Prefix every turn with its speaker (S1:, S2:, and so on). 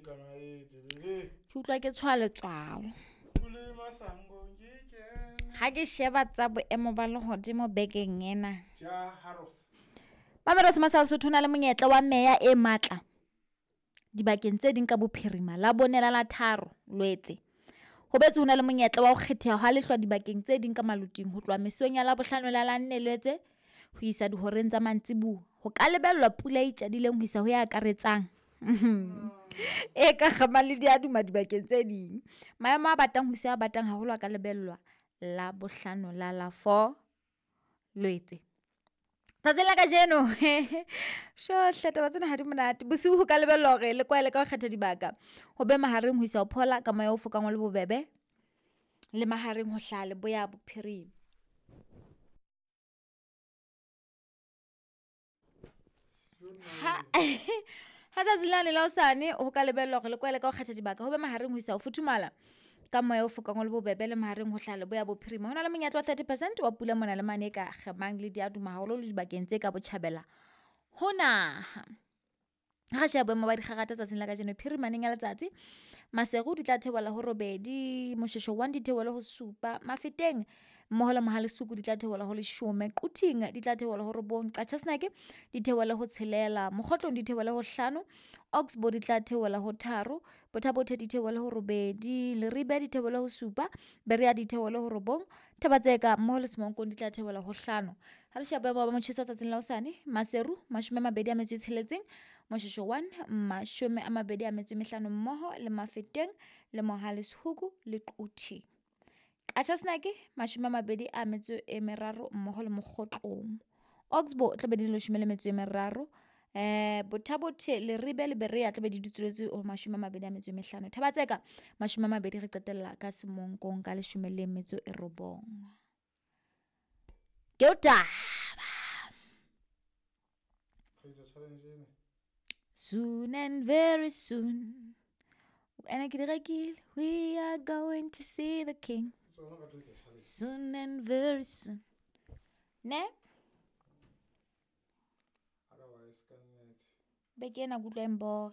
S1: Ke utlwa ke tshoha letswalo. Ha ke sheba tsa boemo ba lehodimo bekeng ena. Mamelodi sa Lesotho na le monyetla wa meya e matla dibakeng tse ding ka bophirima Labone la la 3 Loetse. Ho boetse ho na le monyetla wa ho kgetheha ha lehlwa dibakeng tse ding ka maloting ho tloha mesong ya Labohlano la la 4 Loetse ho isa dihoreng tsa mantsiboya. Ho ka lebellwa pula e tjadileng ho isa ho e akaretsang e ka kgamang le diaduma dibakeng tse ding. Maemo a batang ho isa ho a batang haholo a ka lebellwa Labohlano la la 4 Loetse. Tsatsing la kajeno hle taba tsena ha di monate. Bosiu ho ka lebellwa hore le kwaele ka ho kgetha dibaka, ho be mahareng ho isa ho phola ka moya o fokang o le bobebe le mahareng ho hlaha leboya bophirima. Ha tsatsi lane la hosane ho ka lebellwa hore le kwaele ka ho kgetha dibaka, ho be mahareng ho isa ho futhumala ka moya o fokang o le bobebe le mahareng ho hlaha leboya bophirima. Ho na le monyetla wa 30% wa pula mona le mane e ka kgemang le diaduma haholo le dibakeng tse ka botjhabela ho naha. Ha re sheba boemo ba dikgangata tsatsing la kajeno, phirimaneng ya letsatsi Maseru di tla theohela ho 8, Moshoeshoe 1 di theohele ho 7, Mafeteng mmoho le Mohale's Hoek di tla theohela ho 10, Quthing di tla theohela ho 9, Qacha's Nek di theohele ho 6, Mokhotlong di theohele ho 5, Oxbow di tla theohela ho 3, Botha Bothe di theohele ho 8, Leribe di theohele ho 7, Berea di theohele ho 9, Thaba-Tseka mmoho le Semonkong di tla theohela ho 5. Ha re sheba boemo ba motjheso tsatsing la hosane, Maseru 26, Moshoeshoe 1 25 mmoho le Mafeteng le Mohale's Hoek le Quthing. Qacha's Nek 23 mmoho le Mokhotlong. Oxbow tla be di le 13, Botha Bothe, Leribe le Berea tla be di dutsuletse ho 25. Thaba-Tseka 20 re qetella ka Semonkong ka 19. Ke o taba. Soon and very soon. Ene ke di rekile. We are going to see the king. Soon and very soon. Ne? Beke ena ke utlwa e mbora.